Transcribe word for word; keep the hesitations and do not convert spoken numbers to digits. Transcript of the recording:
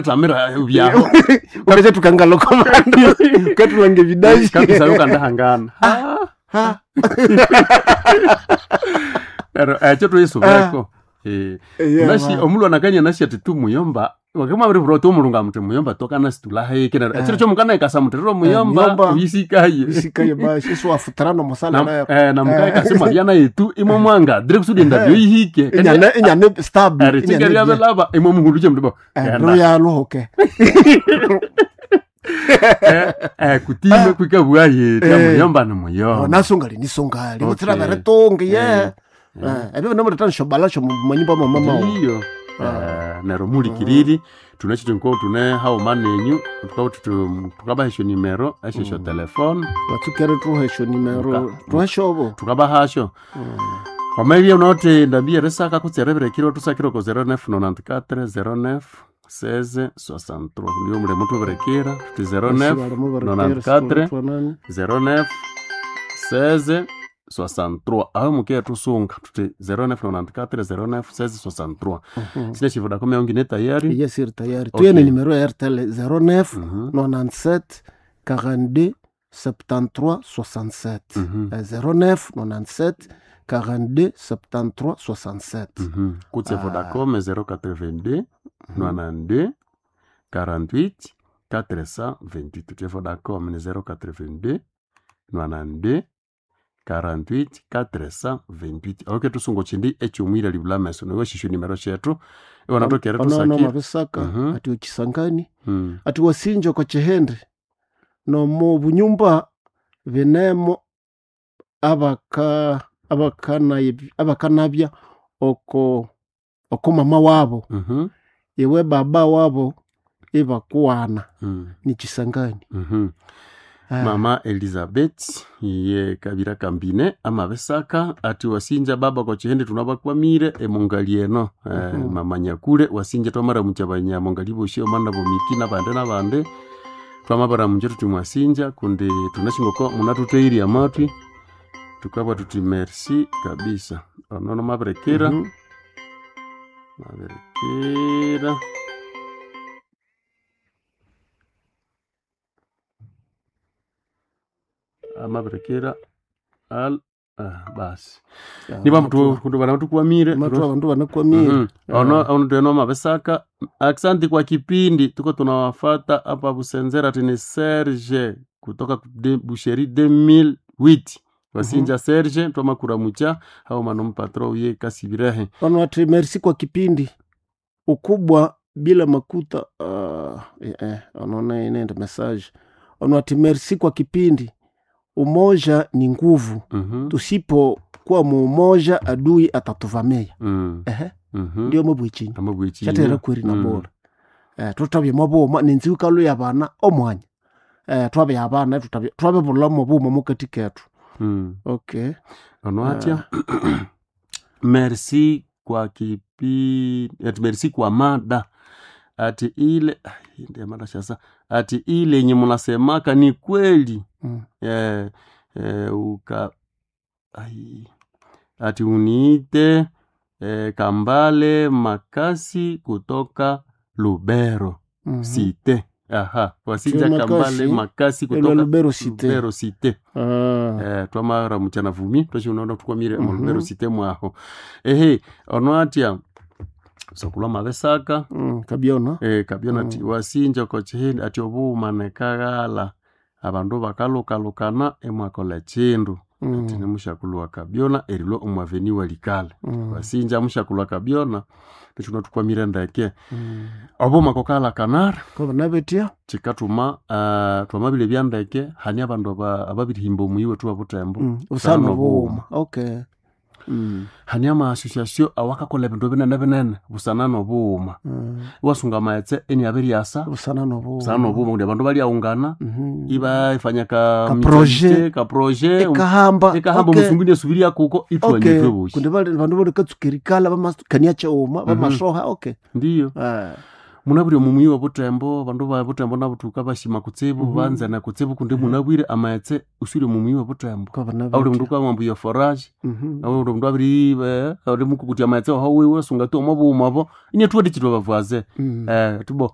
Tamira byaho. Ukasha tukangaloko bandu ukatulanga ebidashi Kabisa yukandahangana. Ha. Pero ekyo tuyisubireko. Eh. Yeah, Nashi ma. omulwana akanya nashi ati tu muyomba wakama buri oti omulunga muti muyomba tokana situlaheke neryo ekiro kyomukana ekasa muti riro muyomba muyomba. uyisikaye. Isikaye bashi isiwafutirana omusala Na- nayo eh, namukaye kasi mwabyana yetu imwe mwanga dire kusudi endabyo yihike. inyane inyane stable Eritinga lyabelaba imwe muhuluje muti bo. Genda. ruyaluhuke Eh, eh, kutime kwikabwa ye Eh. muyomba ni muyomba. nasungali nisungali Okay. utsira veretungi ye Eh. ebyo binamuletana shobala sho manyumba mamamao Ndiyo. Eh, neryo mulikiriri tunachiti nko tune hauma nenyu tukaba tutu- tukabahesyo nimero esyo telefone vatsukere tuhesho nimero Muka- tuheshovo tukabahasyo wamaibya unaote ndambi erisaka kutse erebirekiro tusakire ko zero nine nonante-quatre zero nine seize soixante-trois ndiyo mulimo tubirekera tuti zero nine nonante-quatre zero nine seize soixante-trois aho mukeya tusunga tuti zero nine nonante-quatre zero nine seize soixante-trois sine chivodacom yangu ine tayari yesiri tayari Okay. tuyene nimero ya airtel zero nine Mhm. nonante-sept quarante-deux septante-trois soixante-sept Mhm. Eh, zero nine nonante-sept quarante-deux septante-trois soixante-sept Mhm. kutse Ah. vodacom zéro quatre-vingt-deux nonante-deux quarante-huit quatre cent vingt-huit tutie vodacom ni zéro quatre-vingt-deux nonante-deux quarante-huit quatre cent vingt-huit oke tusungo chindi ekyumwira libula meso niwe shishu nimero shetu iwana tokere onono tusakire mabisaka Mhm. ati okisangani Mm. ati wasinja kwa chihende nomu bunyumba binemo abaka abakana- abakanabya oko oko mama wabo Mhm. iwe baba wabo ibakuwana Mm. ni kisangani Mhm. Ah, mama Elizabeth ye kabira kambine amabesaka ati wasinja baba kwa chihende tunabakwamire emungali eno eh, Mhm. mama nyakule wasinja twamara muchabanya mungali boshi omana bomiki nabande nabande twamabara munje tuti mwasinja kundi tunashingoko munatuteiri amatwi tukabwa tuti merci kabisa onono mabirekera mhm. mabirekera amabirekera al ah, basi Ya, niba matu- mtu kundi bana tukwamire matu abandu banakwamire Mhm. ono ono teno mabesaka aksanti kwa kipindi tuko tunawafata hapa Busenzera tini Serge kutoka de, Busheri deux mille huit wasinja Serge twamakura mucha hao mano mpatro uye kasibirehe ono ati merci kwa kipindi ukubwa bila makuta uh, eh, eh, onona inende message ono ati merci kwa kipindi umoja ni nguvu Mhm. tusipokuwa muumoja adui atatuvamia Mm. ehe Mhm. ndio mabwichinyi Amabwichinya. chatera kweri na Mm. bora eh tutabye maboma nenzi ukalu ya bana omwanya eh twabe abana tutabye twabe bulamo buma mukati ketu Mm. okay ono atya merci kwa kipi ati merci kwa mada ati ile ai, ndiye mada shasa ati ile yenye munasemaka ni kweli mm. eh, eh, uka ai, ati uniite eh, Kambale Makasi kutoka Lubero mm -hmm. site aha wasinja Tio Kambale Makasi, Makasi Elwa kutoka Lubero site Lubero site ah. eh, twamara muchana vumi twashinaona tukwamire mm Mhm. Lubero site mwaho ehe ono atya sokulwa mabesaka mm. kabyona eh, kabyona ati Mm. wasinja kochihindi ati obuuma kaghala abandu bakalukalukana emwakola chindu ati mm. nimushakulwa kabyona erilwa omwaveni walikale mm. wasinja mushakulwa kabyona nichuna tukwamire ndeke mm. obuuma kokala kanara ko nabetia chikatuma uh, twamabile byandeke hani abandu aba- ababirihimba omuyi wetu wa butembo mm. Sana usano obuuma. buuma okay mm. hani ama-association awakakola ebindu binene binene busana nobughuma mm. iwasunga amaghetse eniabiryasa busana nobuuma busana nobughuma kundi abandu balyaungana mm -hmm. ibaifanya ka Ka projet. ka projet ekahamba ekahamba okay. omusunguni esubiria kuko okay itwanyitwe boshi kundi bali bandu balikatsukirikala bamakania chauma bamasoha okay ndiyo ah. munabwire omumuyi wa butembo abandu ba butembo nabutuka bashima kutsibu Mhm. banzana kutsibu kundi munabwire amaghetse uswire omumuyi wa butembo ko bana auli mundu kwamwambu ya forage mhm auli mundu abiri eh, auli mukukutia amaghetse oho wiwe sunga tu omo buuma obo inye tuwadi chitwa bavwaze mm. eh tubo